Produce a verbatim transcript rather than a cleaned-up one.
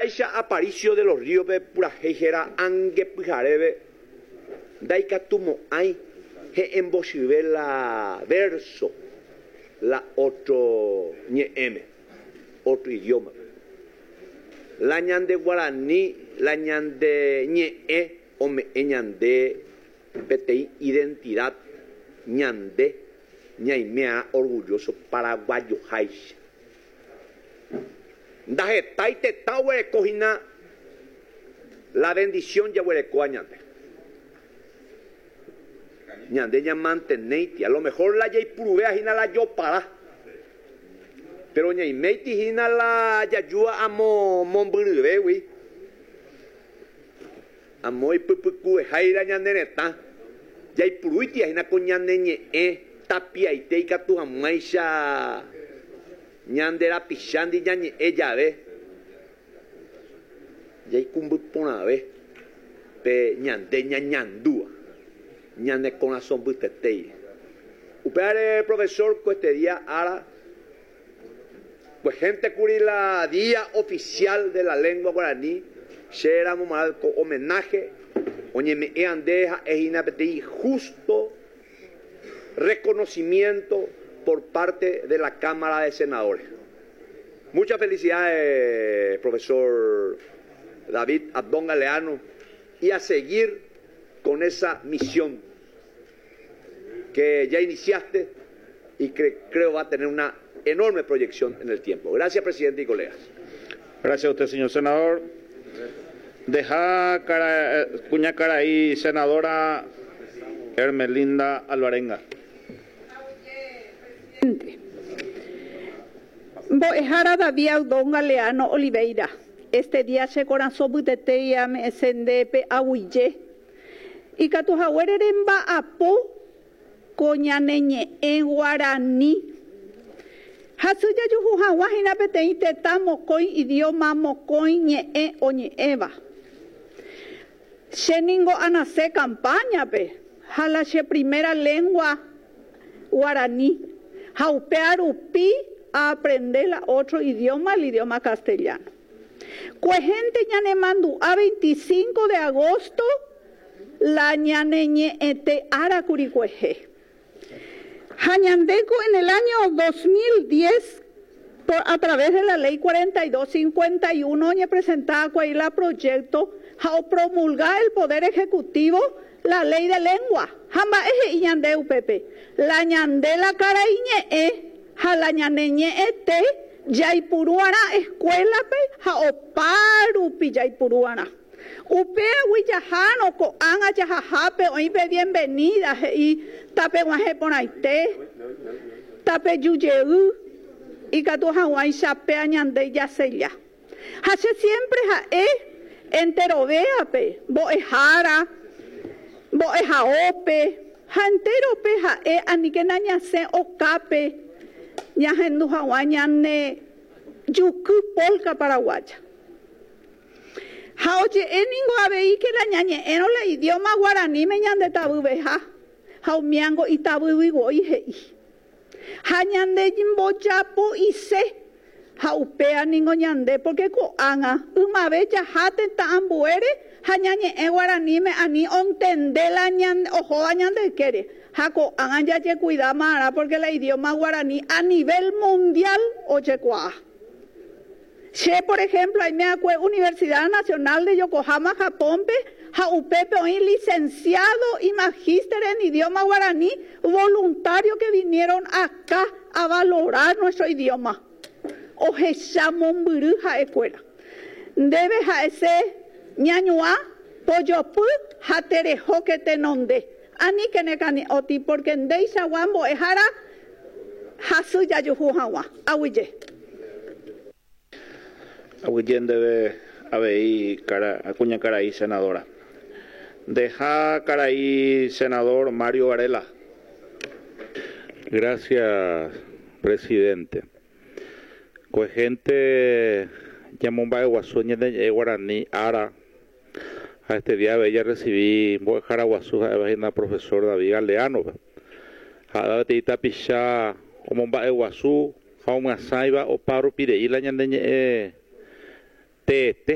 He'iháicha Aparicio de los Ríos pe purahéi héra Angepyhareve ndaikatumo'ãi he'ẽmbochyve la verso la otro ñe'ẽme, otro idioma. La ñande guarani, la ñande ñe'ẽ ome'ẽ ñande peteĩ identidad ñande ñaimea orgulloso paraguayoháicha. Ndahetái tetã oguereko hína la bendición jaguerekóva ñande. Ñande ñamantenéiti, a lo mejor la jaipuruvéa hína la jopara. Pero ñaiméiti hína la jajúa amo mombyryvégui. Amo ipypykuveháira ñane retã. Jaipurúiti hína ko ñane ñe'ẽ tapiaite ikatu hag̃uáicha ñande rapichándi ñañe'ẽ jave. Jaikumby porãve pe ñande ñañandúva ñane korasõ mbytetéi. Upévare profesor ko este día ára pues gente kuri la día oficial de la lengua guaraní che ramo ko homenaje oñeme'ẽ ande ha'e hína peteĩ justo reconocimiento por parte de la Cámara de Senadores. Muchas felicidades, profesor David Abdón Galeano, y a seguir con esa misión que ya iniciaste y que creo va a tener una enorme proyección en el tiempo. Gracias, presidente y colegas. Gracias a usted, señor senador. Deja cara, kuñakarai, senadora Hermelinda Alvarenga. Presidente. Mbo'ehára David Abdón Galeano Oliveira. Este día che korasõ mbytetéi ame'ẽse ndéve aguyje. Ikatu haguére remba'apo ko ñane ñe'ẽ guarani. Hasy jajuhu hag̃ua hína peteĩ tetã mokõi idioma mokõi ñe'ẽ oñe'ẽva. Che ningo anase campaña-pe ha la che primera lengua guaraní. Ha upe rupi a aprender la otro idioma, el idioma castellano. Kuehénte ñanemandu'a veinticinco de agosto la ñane ñe'ẽte ára kuri kuehe. Ha ñandéko en el año dos mil diez, por, a través de la ley cuarenta y dos cincuenta y uno, oñepresentaba la proyecto ha opromulga el Poder Ejecutivo la ley de lengua. Ha mba'e he'i ñande upépe. La ñande la karaiñe'ẽ ha la ñane ñe'ẽte jaipuruarã escuela-pe ha oparupi jaipuruarã. Upégui jahárõ ko'ág̃a jahahápe oĩ pe bienvenida he'i tapeg̃uahẽ porãite, tapejujey ikatu hag̃uáicha péa ñande jasella. Ha che siempre ha'e enterovéape mbo'ehára, mbo'ehaópe ha enterope ha'e aníkena ñasẽ okápe ñahendu hag̃ua ñane juky polka paraguaya. Ha oje'e ningo avei que la ñañe'ẽrõ la idioma guaraníme ñande tavyveha ha umiango itavyvivoi he'i. Ha ñande mbojapo'ise ha upéa ningo ñande porque ko'ág̃a ymave jaha tetã ambuére ha ñañe'ẽ guaraníme ani ontende la ñande ohóva ñande ykére. Ha ko'ág̃a jajekuidáma'arã porque la idioma guaraní a nivel mundial ojekuaa. Che, por ejemplo, aime Universidad Nacional de Yokohama, Japón-pe, ha upépe oĩ licenciado y magíster en idioma guaraní, voluntario que vinieron acá a valorar nuestro idioma. Ohecha mombyry ha'ekuéra. Ndéve ha'ese ñañuã, pojopy ha terehóke tenonde. Aníke nekane'õti porque ndeichagua mbo'ehára hasy jajuhu hag̃ua. Aguyje. Aguyje ndéve avei kara, kuñakarai senadora. Deja karai senador Mario Varela. Gracias, presidente. Kuehénte ñamomba'eguasu ñane ñe'ẽ guarani ára ha este día avei recibí mbo'ehára guasu ha'éva hína profesor David Galeano ha peteĩ tapicha omomba'eguasu ha omyasãiva opa rupirei la ñane ñe'ẽ teete.